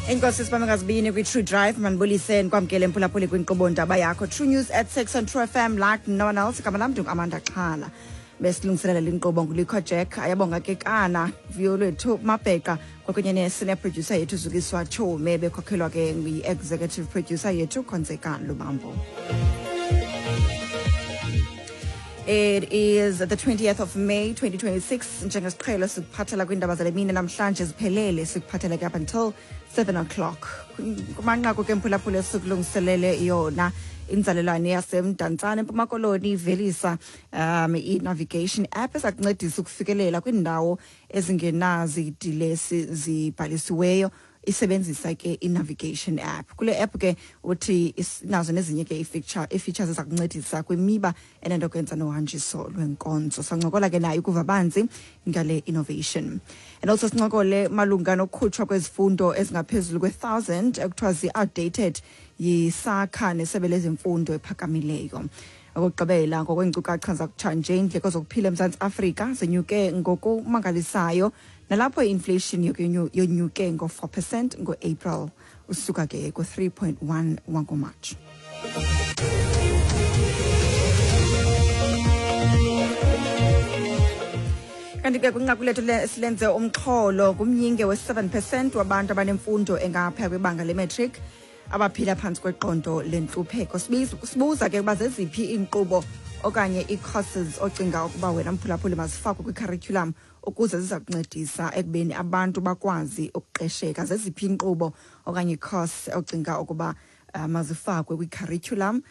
Enkosi sibambe ngazibini kwi-True Drive. Mandibulise, ndikwamkele mphulaphuli kwinkqubo ndaba yakho True News at 6 on True FM like no one else. Igama lam ndinguAmanda Xhala. Besilungiselela le nkqubo nguLikho Jack, ayabonga ke kana vuyo lwethu Mabheqa kwakunye ne-senior producer yethu Zukiswa Chome, bekhokhelwa ke yi-executive producer yethu Khonzeka Lubambo. It is the 20th of May 2026. Njengesiqhelo sikuphathela kwiindaba zale mini namhlanje ziphelele, sikuphathela ke up until 7 o'clock. Kumanqaku ke mphulaphula esikulungiselele yona, inzalelwane yaseMdantsane eMpuma Koloni ivelisa i-navigation app eza kuncedisa ukufikelela kwiindawo ezingenazidilesi zibhalisiweyo isebenzisa ke i-navigation app. Kule app ke uthi inazo nezinye ke ii-features eza kuncedisa kwimiba enento kwenza nohanjiso lwenkonzo. Sancokola ke nayo ukuva banzi ngale innovation. And also sincokole malunga nokukhutshwa kwezifundo ezingaphezulu kwe-1000 ekuthiwa zi-outdated yiSAQA nesebe lezemfundo ephakamileyo. Okokugqibela, ngokweenkcukacha zakutshanje, iindleko zokuphila eMzantsi Afrika zenyuke ngokumangalisayo, nalapho i-inflation yonyuke ngo-4% ngo-April usuka ke ku-3.1 wangoMatshi. Kanti ke kwinqaku lethu silenze umxholo ngumyinge we-7% wabantu abanemfundo engaphaya kwibanga le-matric abaphila phantsi kweqondo lentlupheko. Sibuza ke ukuba zeziphi iinkqubo okanye ii-courses ocinga ukuba wena mphulaphuli mazifakwe kwi-curriculum ukuze ziza kuncedisa ekubeni abantu bakwazi ukuqesheka. Zeziphi iinkqubo okanye ii-course ocinga ukuba mazifakwe kwi-curriculum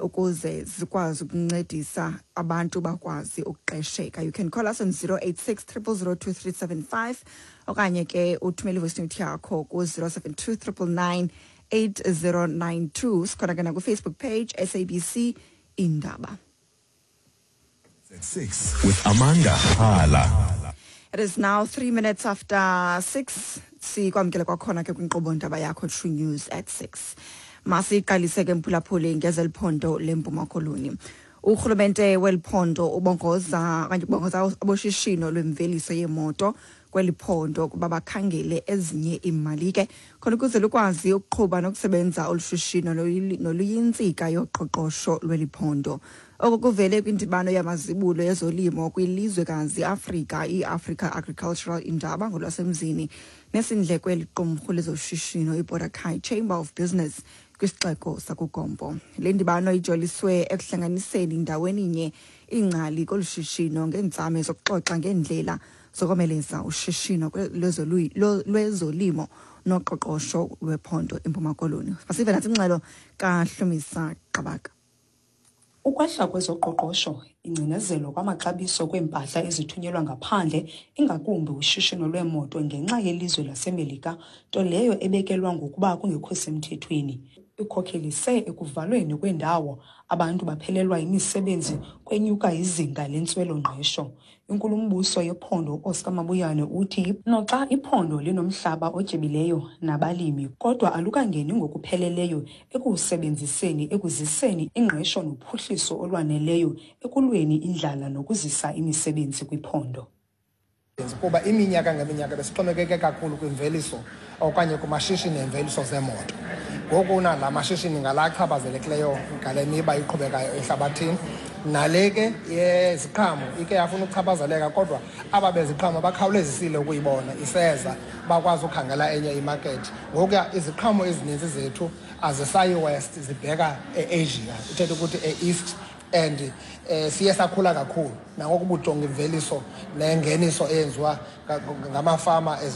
ukuze zikwazi ukuncedisa abantu bakwazi ukuqesheka? You can call us on 086 0002375 okanye ke uthumele i-voice note yakho ku-072 999 8092. Sikhona ke nakwi-Facebook page SABC Indaba. At 6 with Amanda Hala. It is now 3 minutes after 6. Sikwamkele kwakhona ke kwinkqubo ndaba yakho True News at 6. Masiqalise ke mphulaphuli ngezeliphondo leMpuma Koloni. Urhulumente weliphondo ubongoza okanye ubongoza aboshishino lwemveliso yemoto kweli phondo ukuba bakhangele ezinye iimali ke khona ukuze lukwazi ukuqhuba nokusebenza olu shishino noluyintsika yoqoqosho lweli phondo. Oko kuvele kwindibano yamazibulo yezolimo kwilizwekazi Afrika, i-Africa Agricultural Indaba ngolwasemzini, nesindlekwe liqumrhu lezoshishino iBorder Chamber of Business kwisixeko sakuGompo. Le ndibano ijoliswe ekuhlanganiseni ndaweninye iingcali kolu shishino ngeentsame zokuxoxa ngeendlela zokomeleza ushishino lwezolimo noqoqosho lwephondo iMpuma Koloni. Masive natsi ingxelo kaHlumisa Qabaka. Ukwehla kwezoqoqosho, ingcinezelo kwamaxabiso kweempahla ezithunyelwa ngaphandle, ingakumbi ushishino lweemoto ngenxa yelizwe laseMelika, nto leyo ebekelwa ngokuba kungekho semthethweni, ikhokhelise ekuvalweni kweendawo, abantu baphelelwa yimisebenzi, kwenyuka izinga lentswelo-ngqesho. Inkulumbuso yephondo uOscar Mabuyane uthi noxa iphondo linomhlaba otyebileyo nabalimi, kodwa alukangeni ngokupheleleyo ekuwusebenziseni ekuziseni ingqesho nophuhliso olwaneleyo ekulweni indlala nokuzisa imisebenzi kwiphondo. Kuba iminyaka ngeminyaka besixhomekeke kakhulu kwimveliso okanye kumashishini emveliso zeemoto. Ngoku la mashishini ngala achaphazelekileyo ngale miba iqhubekayo ehlabathini. Nale ke yeziqhamo ike yafuna ukuchaphazeleka, kodwa aba beziqhamo bakhawulezisile ukuyibona iseza, bakwazi ukhangela enye imakethi. Ngokuya iziqhamo ezininzi zethu azisayi west, zibheka e-Asia, ithetha ukuthi e-East, and siye sakhula kakhulu nangoku bujonga imveliso nengeniso eyenziwa ngamafama.